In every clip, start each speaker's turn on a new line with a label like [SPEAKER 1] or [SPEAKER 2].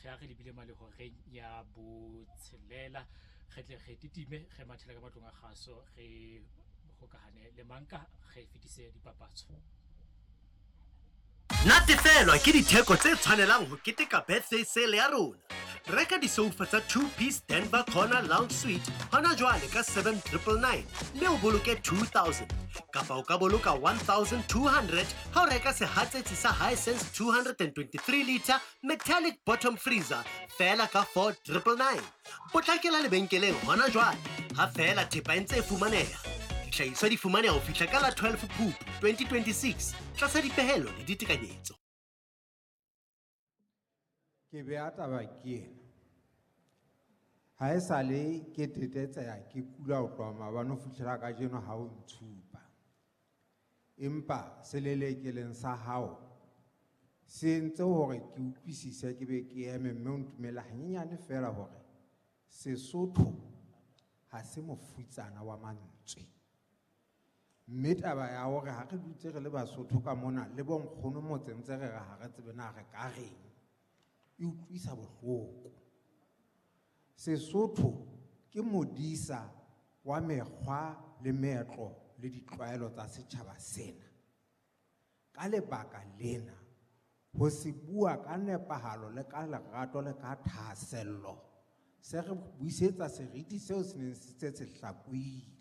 [SPEAKER 1] Ge a re lebile malehoreng ya botshelela, re tle re titime re mathele ka matlong a kgaso, re hokahane le manka, re fetise dipapatso.
[SPEAKER 2] Natefelwa ke ditheko tse tshwanelang ho keteka birthday sale ya rona. Reka disoufa tsa 2-piece Denver Corner Lounge Suite hona jwale ka 7999 mme o boloke 2000. Kapa o ka boloka 1200 ha o reka sehatsetsi sa Hisense 223 liter metallic bottom freezer feela ka 4999. Potlakela lebenkeleng hona jwale ha feela thepa e ntse e fumaneha. Dihlahiswa di fumaneha ho fihla ka la 12 Phupu 2026 tlasa dipehelo le ditekanyetso.
[SPEAKER 3] Ke beha taba ke ena. Ha esale ke tetetseha ke kula ho tloha maobane ho fihlela kajeno ha o ntshupa. Empa selelekeleng sa hao se entse hore ke utlwisise ke be ke eme mme o ntumelle hanyenyane feela hore Sesotho ha se mofutsana wa mantswe. Mme taba ya hore ha re dutse re le Basotho ka mona le bonkgono motseng ntse re re ha re tsebe na re ka reng, e utlwisa bohloko. Sesotho ke modisa wa mekgwa le meetlo le ditlwaelo tsa setjhaba sena. Ka lebaka lena, ho se bua ka nepahalo le ka lerato le ka thahasello, se re buisetsa seriti seo se neng se se se hlakohile.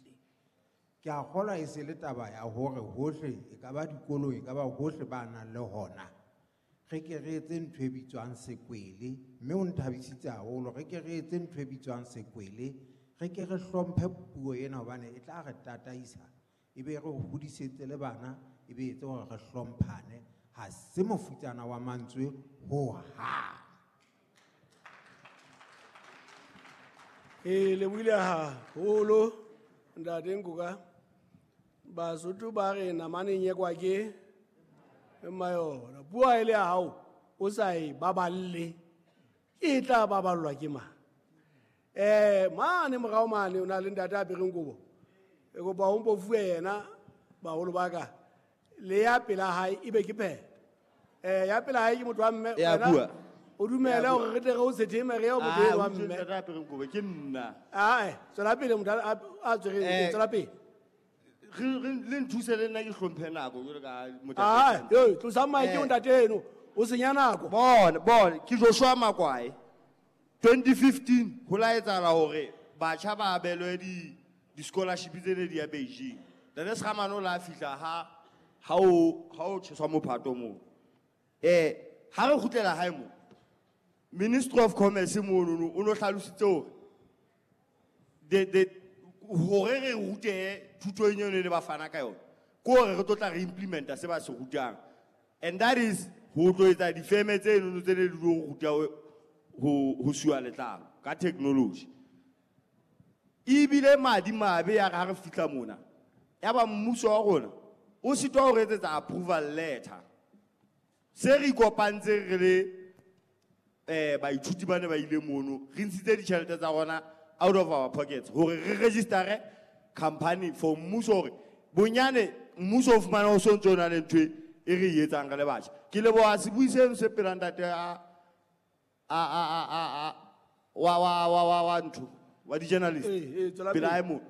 [SPEAKER 3] Ke a kgolwa e se le taba ya hore hohle, e ka ba dikolong, e ka ba hohle ba nang le hona, re ke re etse ntho e bitswang sekwele, mme o nthabisitse haholo, re ke re etse ntho e bitswang sekwele, re ke re hlomphe puo ena hobane e tla re tataisa, e be re hodisetse le bana, e be etse hore re hlomphane. Ha se mofutsana wa mantswe hohang.
[SPEAKER 4] E lebohile haholo ntate Nkoka. Basotho ba re namane e nyekwa ke mma yona. Puo ha e le ya hao o sa e baballe, e tla baballwa ke mang? Mane morao mane o na le ntate a apereng kobo. E kopa o mpo fuwe yena baholo ba ka. Le ya pela hae e be ke phetho. Ya pela hae ke motho wa mme,
[SPEAKER 5] Ya
[SPEAKER 4] wena
[SPEAKER 5] bua.
[SPEAKER 4] o dumele
[SPEAKER 5] Ya bua.
[SPEAKER 4] hore re tle re o setheme re ye ho motho
[SPEAKER 5] Ah,
[SPEAKER 4] eno wa
[SPEAKER 5] o utlwe
[SPEAKER 4] mme.
[SPEAKER 5] ntate a apereng kobo, ke nna.
[SPEAKER 4] Ah, tswela pele motho a tshwereng, tswela pele.
[SPEAKER 5] Le nthuse le nna ke hlomphe nako jwalo ka motho a
[SPEAKER 4] Ah,
[SPEAKER 5] tletseng.
[SPEAKER 4] yo, tlosa mic o ntate eno, o senya nako.
[SPEAKER 5] Bona, bona, ke Joshua Makwae. 2015 ho la etsahala hore batjha ba abelwe di scholarship tse ne di ya Beijing. Ntate Sekgamane o la fihla ha o tjheswa mophato moo. Ha re kgutlela hae moo, Ministry of Commerce monono o no hlalositse hore hore re rute thuto eno ne ba fana ka yona, ke hore re tlo tla re implementa se ba se rutang. And that is ho tlo etsa difeme tse nono tse ne di tlo ruta ho suwa letlalo ka technology. Ebile madi mabe ya re ha re fihla mona, ya ba mmuso wa rona o sitwa ho re etsetsa approval letter. Se re ikopantse re le baithuti ba ne ba ile mono, re ntshitse ditjhelete tsa rona out of our pockets hore re register company for mmuso hore bonyane mmuso o fumane ho so ntso o na le ntho e re e etsang re le batjha. Ke leboha sebui seno se pela ntate wa ntho, wa di-journalist.
[SPEAKER 4] Tswela
[SPEAKER 5] Pela
[SPEAKER 4] pele.
[SPEAKER 5] hae moo.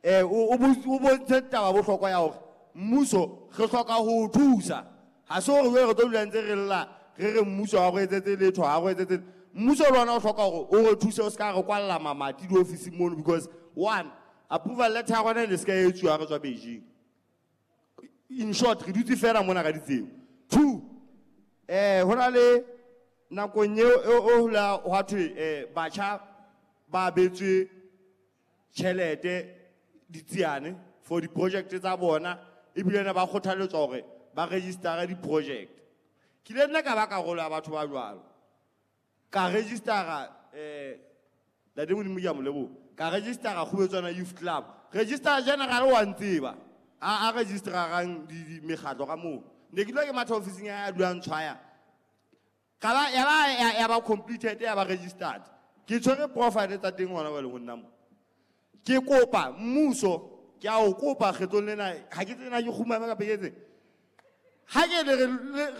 [SPEAKER 5] O bontshe taba bohlokwa ya hore mmuso re hloka ho o thusa. Ha se hore jwale re tlo dula ntse re lla, re re mmuso ha o re etsetse letho, ha o re etsetse letho. Mmuso le ona o hloka hore o re thuse, o se ka re kwalla mamati diofising mono, because one, approval letter ya rona e ne se ka etsuwa ha re tswa Beijing. In short, re dutse fela mona ka ditseo. Two, ho na le nakong eo, eo, eo la hwa thwe, batjha ba abetswe tjhelete ditsiane for di-project tsa bona, ebile ne ba kgothaletswa hore ba register-e di-project. Ke ile nna ka ba karolo ya batho ba jwalo. Ka register-a, Ntate Modimo ke a mo leboha. Ka register-a Kgubetswana Youth Club. Registrar General wa ntseba. A register-ang mekgatlo ka moo. Ne ke dula ke matha ofising ya hae, a dulang tshwaya. Ka ba, ya ba, ya, ya ba completed, ya ba registered. Ke tshwere profile tsa teng hona jwale ho nna mo. Ke kopa mmuso, ke a o kopa kgetlong lena, ha ke tsena ke kgumame kapa ke etseng. Ha ke le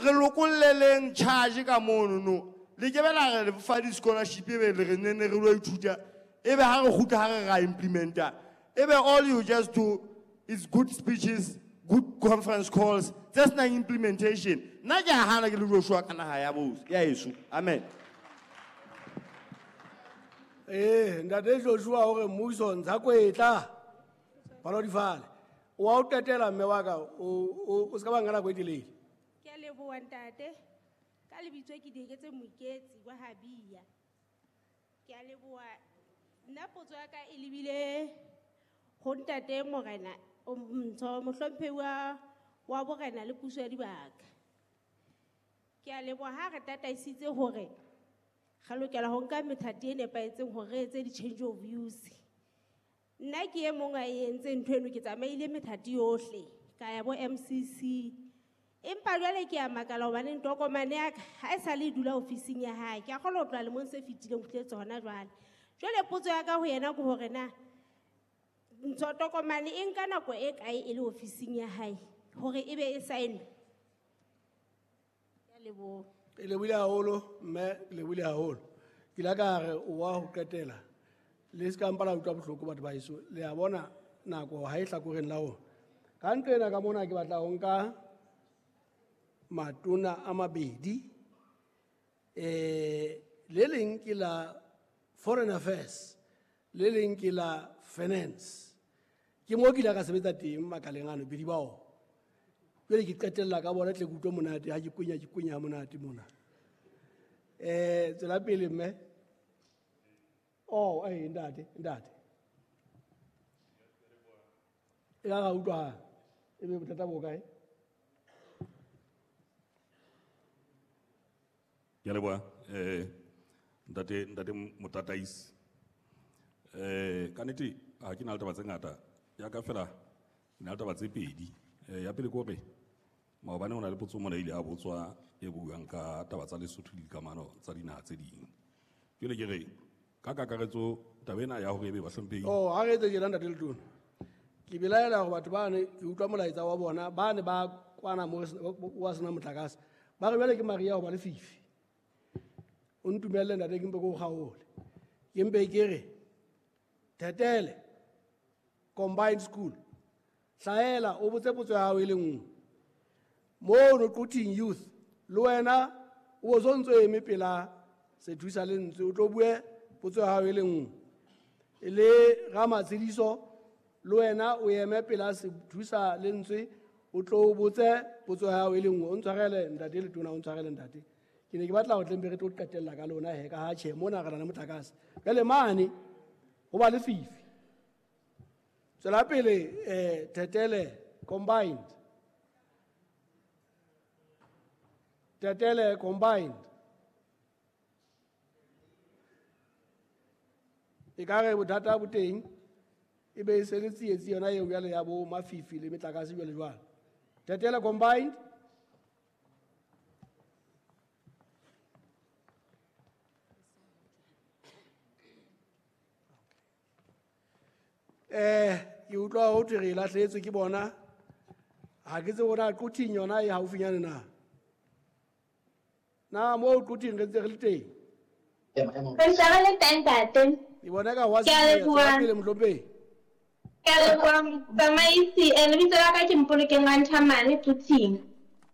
[SPEAKER 5] re lokolleleng charge ka mono no. Le ke be la re fa di-scholarship ebe le re nenne re lo ithuta, ebe ha re kgutla ha re ra implementa. Ebe all you just do is good speeches, good conference calls, tse senang implementation. Nna ke a hana ke le Joshua ka naha ya ya heso. Amen.
[SPEAKER 4] Ee, ntate Joshua o re mmuso ntsha kwetla. Palo di fale. O a o qetela mme wa ka, o se ka ba nka nako e telele.
[SPEAKER 6] Ke a leboha ntate. Ka lebitso ke Dieketse Moiketsi wa Habia. Ke a leboha. Nna potso ya ka e lebile ho ntate Morena, ntsho mohlomphehi wa borena le puso ya dibaka. Ke a leboha ha re tataisitse hore re lokela ho nka methati e nepahetseng hore re etse di-change of use. Nna ke e mong a e entseng ntho eno, ke tsamaile methati yohle, ka ya bo MCC. Empa jwale ke a makala hobane tokomane ya ka ha e sale e dula ofising ya hae. Ke a kgolwa ho tloha lemong se fetileng ho fihletse hona jwale. Jwale potso ya ka ho yena ke hore na ntho tokomane e nka nako e kae e le ofising ya hae hore e be e saenwe? Ke a leboha.
[SPEAKER 4] E lebohile haholo, mme, e lebohile haholo. Ke ile ka re o wa ho qetela. Le se ka mpa la utlwa bohloko batho ba heso. Le a bona nako ha e hlakoreng la rona. Ka ntlo ena ka mona ke batla ho nka matona a mabedi. Le leng ke la Foreign Affairs, le leng ke la Finance. Ke moo ke ile ka sebetsa teng makaleng ano, bedi ba ona. Jwale ke qetella ka bona tle ke utlwe monate ha ke kwenya, ke kwenya monate mona. Tswela pele mme. Oh, ntate, ntate. E ka ra utlwa, e be bothata bo kae?
[SPEAKER 7] Ke a leboha, ntate, ntate Motataisi. Ka nnete ha ke na le taba tse ngata, ya ka fela ke na le taba tse pedi. Ya pele ke hore maobane ho na le potso mona e ile ya botswa e buang ka taba tsa Lesotho le dikamano tsa dinaha tse ding. Jwale ke re ka kakaretso taba ena ya hore ebe bahlomphehi.
[SPEAKER 4] Oh, ha re etse tjena ntate Letona. Ke belaela hore batho bane ke utlwa molaetsa wa bona, bane ba kwana mo re sena, wa sena motlakase. Ba re jwale ke mariha hoba lefifi. O ntumelle ntate ke mpe ke o kgaole. Ke mpe ke re Thetele Combined School. Hlahela o botse potso ya hao e le nngwe. Mono Quthing Youth le wena o bo sontso eme pela sethusa lentswe o tlo bue potso ya hao e le nngwe. Le Ramatshediso le wena o eme pela sethusa lentswe o tlo botse potso ya hao e le nngwe. O ntshwarele ntate Letona, o ntshwarele ntate. Ke ne ke batla ho tlempe re tlo qetella ka lona he, ka ha tjhe mona re na le motlakase. Jwale mane ho ba lefifi. Tswela pele, Thetele Combined. Thetele Combined. E ka re bothata bo teng, e be e se le tsietsi yona eo jwale ya bo mafifi le metlakase jwale jwalo. Thetele Combined. Ke utlwa ho thwe re lahlehetswe ke bona. Ha ke tsebe hore na Quthing yona e haufinyane na. Na moo Quthing re ntse re le teng?
[SPEAKER 8] Re ntse re le teng, ntate.
[SPEAKER 4] Ke bona ka wa
[SPEAKER 8] Ke a
[SPEAKER 4] se
[SPEAKER 8] leboha.
[SPEAKER 4] pele mohlomphehi.
[SPEAKER 8] Ke a leboha, motsamaisi. Lebitso la ka ke Mpolokeng Ranthamane Quthing.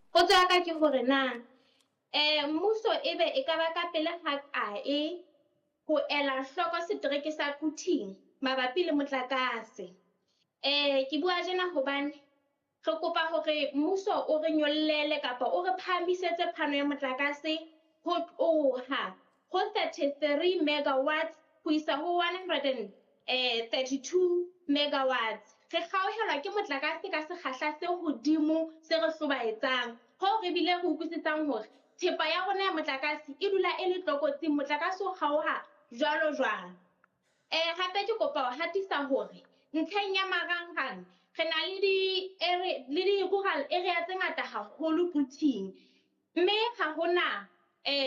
[SPEAKER 8] Potso ya ka ke hore na, mmuso ebe e ka ba ka pele ha kae ho ela hloko setereke sa Quthing mabapi le motlakase? Ke bua tjena hobane re kopa hore mmuso o re nyollele kapa o re phahamisetse phano ya motlakase ho tloha ho 33 megawatts ho isa ho one hundred and, thirty-two megawatts. Re kgaohelwa ke motlakase ka sekgahla se hodimo se re hlobaetsang, hoo re bile re utlwisisang hore thepa ya rona ya motlakase e dula e le tlokotsing, motlakase o kgaoha jwalo jwalo. Hape ke kopa ho hatisa hore ntlheng ya marangrang re na le di-rural area tse ngata haholo Quthing, mme ha hona,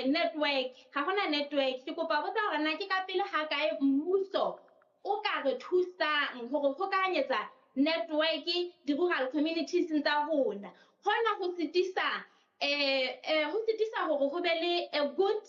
[SPEAKER 8] network, ha hona network. Ke kopa ho botsa hore na ke ka pele ha kae mmuso o ka re thusang hore hokahanyetsa network di-rural communities tsa rona. Hona ho sitisa, ho sitisa hore ho be le a good